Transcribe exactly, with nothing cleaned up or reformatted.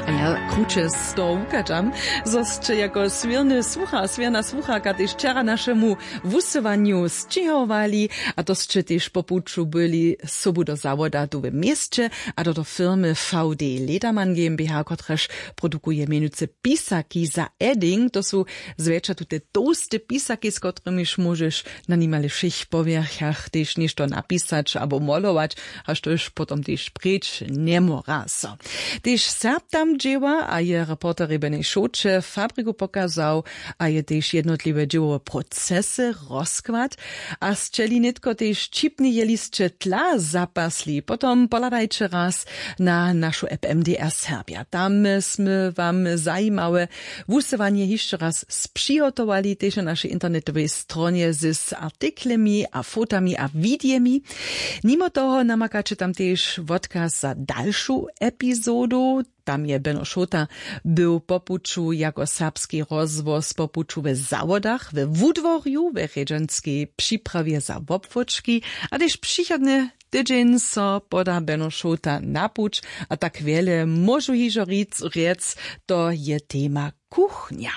A ja kruće z toho wuchadźam, zo sće jako swěrny słucha a swěrna słucharka tež wčera našemu wusyłanju sćěhowali, a to sće tež po puću byli sobu do zawoda tu w měsće, a to do firmy V D Ledermann GmbH, kotraž produkuje mjenujcy pisaki za edding. To su zwjetša tute tołste pisaki, z kotrymiž móžeš na nimale wšěch powjerchach tež něšto napisać abo molować, a štož potom tež preč njemóra so. Tež Serb tam dźěła a je reporterjej Beny Šoće fabriku pokazał, a je tež jednotliwe dźěłowe procesy rozkład. A sćeli nětko tež ćipnje jělisće tla zapasli, potom pohladajće raz na našu app M D R Serbja. Tam smy wam zajimawe wusyłanje hišće raz spřihotowali, tež na našej internetowej stronje z artiklemi a fotami a widejemi. Nimo toho namakaće tam tež wotkaz za dalšu epizodu. Tam je Beno Šota był po puću jako serbski rozhłos po puću we zawodach, we wudworju, we rjedźanskej připrawie za wobłóčki, a tež přichodny tydźeń so poda Beno Šota na puć. A tak wjele móžu hižo rjec, rjec, to je tema kuchnja.